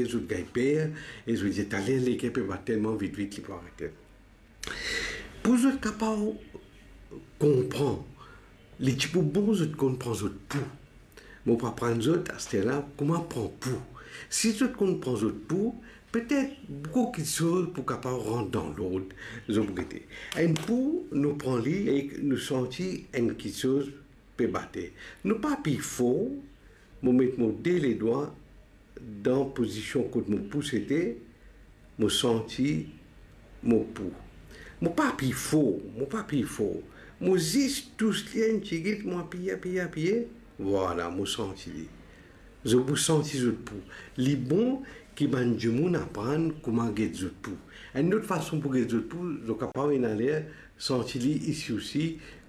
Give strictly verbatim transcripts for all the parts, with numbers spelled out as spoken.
zot gagn per, e zot dir, "Taler leker pe bat telman vit vit, li pou arete." Pou zot kapav konpran, li ti pou bon zot konn pran zot pou. Mo pou aprann zot aster la kouma pran pou. Si zot konn pran zot pou, petet boukou kiksoz pou kapav rant dan lord, zot pou gete. Enn pou, nou pran li e nou santi enn kiksoz pe bate. Nou pa apiy for, mo met mo de ledwa dan pozision kot mo pou sete, mo santi mo pou. Mo pa apiy for, mo pa apiy for. Mo zis tous li enn tigit, mo apiye, apiye, apiye. Vwala, mo santi li. Zot pou santi zot pou. Li bon ki bann dimoun aprann kouma get zot pou. Enn lot fason pou get zot pou, zot kapav ena ler santi li isi osi,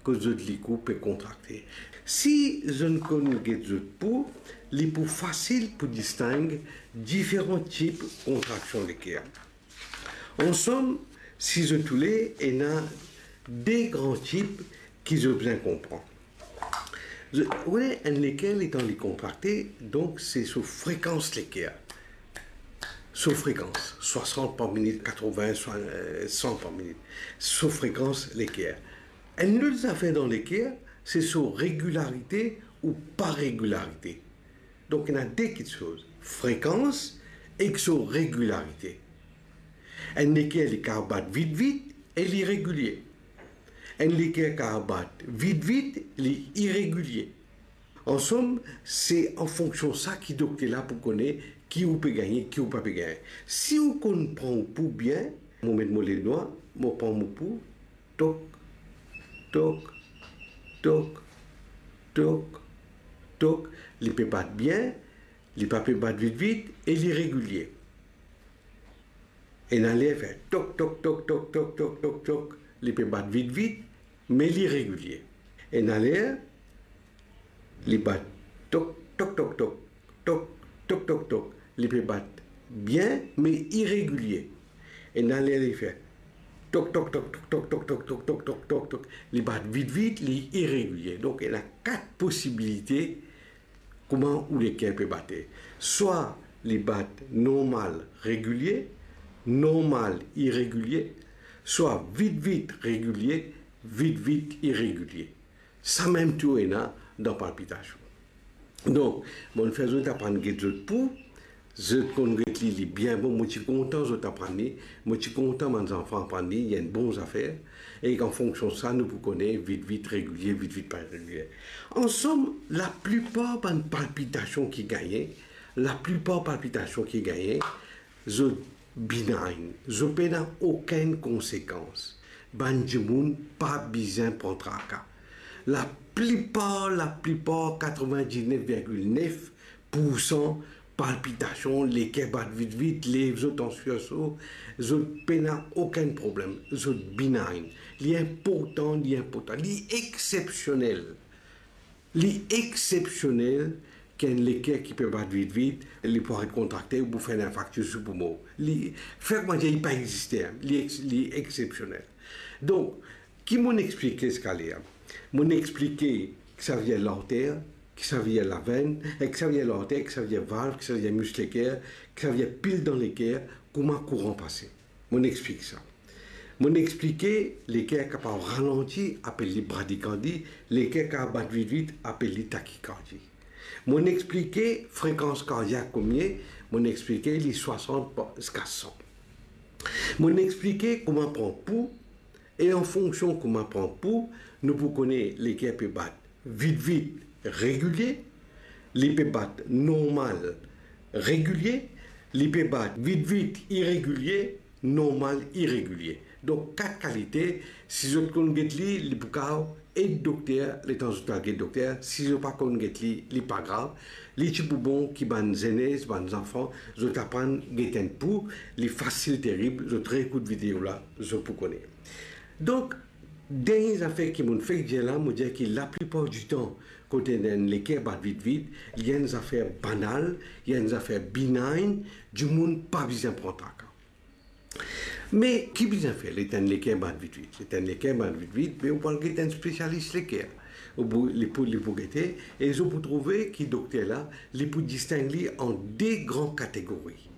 kot zot likou pe kontrakte. Si zot konn get zot pou, li pou fasil pou disteng diferan tip kontraksion leker. Ansam, si zot oule, ena de gran tip ki zot bizin konpran. Zot, oule, enn leker letan li kontrakte, donk se so frekans leker. So frekans, swasant par minit, katrovin, swa-, eh, san par minit. So frekans leker. Enn lot zafer dan leker, se so regilarite ou pa regilarite. Donk, ena de kiksoz, frekans ek so regilarite. Enn leker li kapav bat vit vit e li regilie. Enn leker kapav bat vit vit, li iregilie. Ansam, se an fonksion sa ki dokter la pou kone ki ou pe gagne, ki ou pa pe gagne. Si ou konn pran ou pou bien, mo met mo ledwa, mo pran mo pou, tok, tok, tok, tok, tok, li pe bat bien, li pa pe bat vit vit e li regilie. Ena ler fer tok, tok, tok, li pe bat vit vit, me li regilie. Ena ler li bat tok, tok, tok, tok, tok, tok, tok, tok, li pe bat bien, me iregilie. Ena ler li fer tok, tok, tok, li bat vit vit, li iregilie. Donk, ena kat posibilite kouma ou leker pe bate. Swa li bat normal, regilie, normal, iregilie, swa vit vit, regilie, vit vit, iregilie. Samem tou ena dan palpitasion. Donk, mo'nn fer zot aprann get zot pou, zot konn get li, li bien bon, mo ti kontan zot aprann li, mo ti kontan bann zanfan aprann li, li enn bon zafer, e an fonksion sa, nou pou kone vit vit, regilie, vit vit, pa regilie. Ansam, laplipar bann palpitasion ki gagne, laplipar palpitasion ki gagne, zot benign, zot pena okenn konsekans. Bann dimoun pa bizin pran traka. Laplipar, laplipar, katrovin-diznef virgil nef poursan palpitasion, leker bat vit vit, lev zot an sirso, zot pena okenn problem, zot benign. Li inportan, li inportan, li exsepsionel. Li exsepsionel ki enn leker ki pe bat vit vit, li pou aret kontrakte, ou pou fer enn infarktis, ou pou mor. Li, fer kouma dir li pa existe, li ex-, li exsepsionel. Donk, ki mo'nn explike ziska la? Mo'nn explike kisavedir larter, kisavedir lavenn, e kisavedir larter, kisavedir valv, kisavedir mis leker, kisavedir pil dan leker, kouma kouran pase. Mo'nn explik sa. Mo'nn explike leker kapav ralanti, apel li bradikardi, leker kapav bat vit vit, apel li takikardi. Mo'nn explike frekans kardiak komie, mo'nn explike li swasant pa-, ziska san. Mo'nn explike kouma pran pou, e an fonksion kouma pran pou, nou pou kone leker pe bat vit vit, regilie, li pe bat normal, regilie, li pe bat vit vit, iregilie, normal, iregilie. Donk, kat kalite, si zot konn get li, li pou kapav ed dokter, letan zot al get dokter, si zot pa konn get li, li pa grav, li ti pou bon ki bann zenez, bann zanfan, zot aprann get enn pou, li fasil terib, zot reekout video la, zot pou kone. Donk, dernie zafer ki mo'nn fek dir la, mo dir ki laplipar ditan, kot enn leker bat vit vit, li enn zafer banal, li enn zafer benign, dimoun pa bizin pran traka. Me ki bizin fer letan enn leker bat vit vit? Letan enn leker bat vit vit, be ou pou al get enn spesialis leker. Ou pou, li pou, li pou gete, e zot pou trouve ki dokter la, li pou disteng li an de gran kategori.